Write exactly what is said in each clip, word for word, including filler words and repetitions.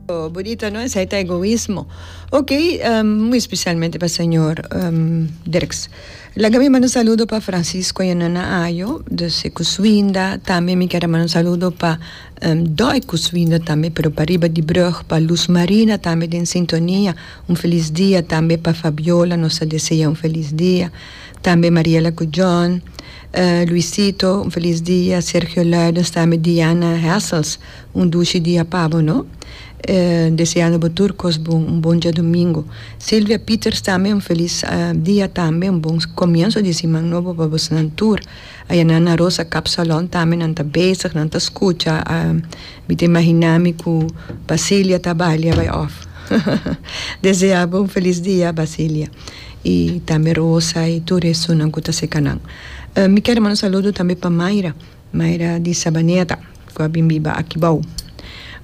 Oh, bonita, no? Esey ta egoismo. Ok, um, muy especialmente pa señor um, Dirks. Laga mi manda un saludo pa Francisco y Nana Ayo, dus Kuswinda. Tambe mi kier manda un saludo pa um, Doi Kuswinda tambe, pero pariba di brug, pa Luz Marina tambe den sintonia. Un feliz dia tambe pa Fabiola, nos ta desea un feliz dia. Tambe Mariela Cujon, uh, Luisito, un feliz dia. Sergio Luides, tambe Diana Hessels, un dushi dia pa bo, no? Eh, deseando bo tur cos bon, un bon diadomingo. Silvia Peters tambe, un feliz uh, dia tambe, un bon comienso di siman nobo pa boso tur. Aya na Rosa Kapsalon tambe nan ta bezig, nan ta scucha, uh, mi ta imagina mi cu Basilia ta balia bay off. Desea un feliz dia, Basilia. Y tambe Rosa y tur esunnan cu ta serca nan. Uh, mi kier manda un saludo tambe pa Mayra, Mayra di Sabaneta, cu a bin biba aki bou.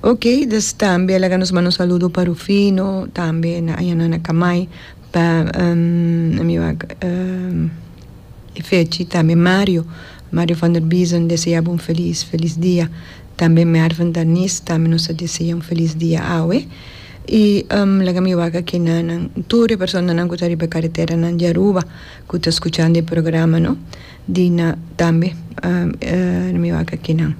Ok, dus tambe laga nos manda un saludo pa Rufino, tambe na ayana na Kamay, pa um, mi wak, um, Fechi, tambe Mario, Mario van der Biesen, desea un feliz, feliz dia. Tambe Mervin Danis, tambe nos ta desea un feliz dia awe. Y um, laga mi wak aki na nan tur personanan cu ta riba caretera nan di Aruba, cu ta scuchando e programa, no? Dina tambe, um, uh, mi wak aki nan.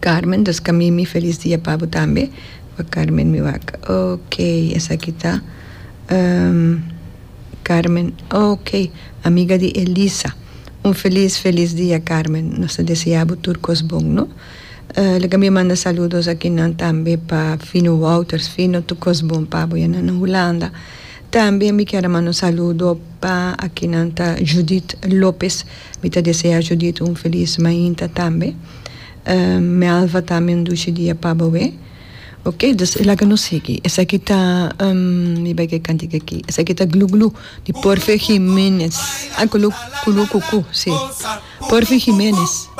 Carmen, dus Camimi, feliz dia pa bo tambe. Pa Carmen mi wak. Ok, esaki ta. Um, Carmen, ok, amiga di Elisa. Un feliz, feliz dia, Carmen. Nos ta desea tur cos bon, no? Uh, laga mi manda saludos aki nan tambe pa Fino Wouters, Fino tur cos bon pa bo na Hulanda. Tambe mi kier manda un saludo pa aki nan ta Judith Lopes. Mi ta desea Judith un feliz mainta tambe. Uh, Melva tambe un dushi dia pa bo. Ok, dus laga nos sigui. Esaki ta, um, mi bay cantica aki. Esaki ta Glu Glu di Porfe Jiménez. Ah, Kulu Kulu Kuku, si. Porfe Jiménez.